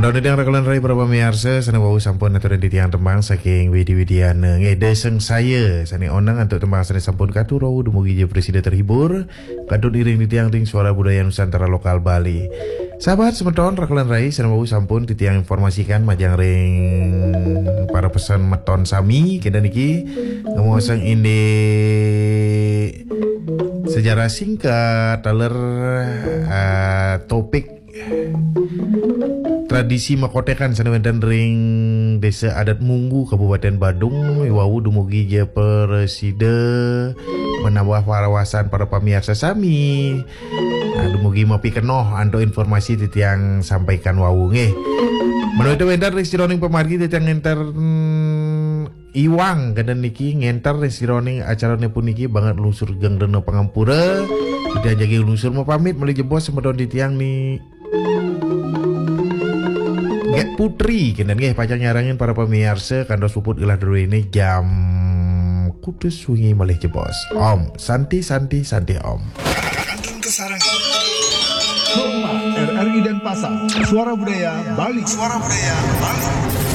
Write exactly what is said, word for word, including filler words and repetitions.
Titiang rekolen rai para pamiarsa, sane wau sampun aturan titiang tembang saking Widi Widiana. Nggih, Deseng Saya, sane oneng antuk tembang sane sampun katur wau dumugi ja prasida terhibur. Kadut iring titiang ting Suara Budaya Nusantara Lokal Bali. Sahabat semeton, rekolen rai, sane wau sampun titiang informasikan majeng ring para pesan meton sami, kenten niki ngomosang indik sejarah singkat, taler, eh, topik tradisi makotekan sane wenten ring Desa Adat Munggu, Kabupaten Badung, wau dumugi ja prasida menambah wawasan para pamiarsa sami. Nah, dumugi mapikenoh antuk informasi titiang sampaikan wau nggih. Menawi wenten ring sajeroning pamargi titiang ngenter, mm, iwang kenten niki ngenter ring sajeroning acarane puniki banget lungsur geng rena pangampura. Titiang jagi lungsur mapamit malih jebos semeton titiang ni Get Putri kenten nggih pacang nyarengin para pamiarsa kantos puput gelah druene jam kutus wengi malih jebos. Om Santi Santi Santi Om. Kantun Kesarengan. Hormat R R I Denpasar. Suara Budaya Bali. Suara Budaya Bali.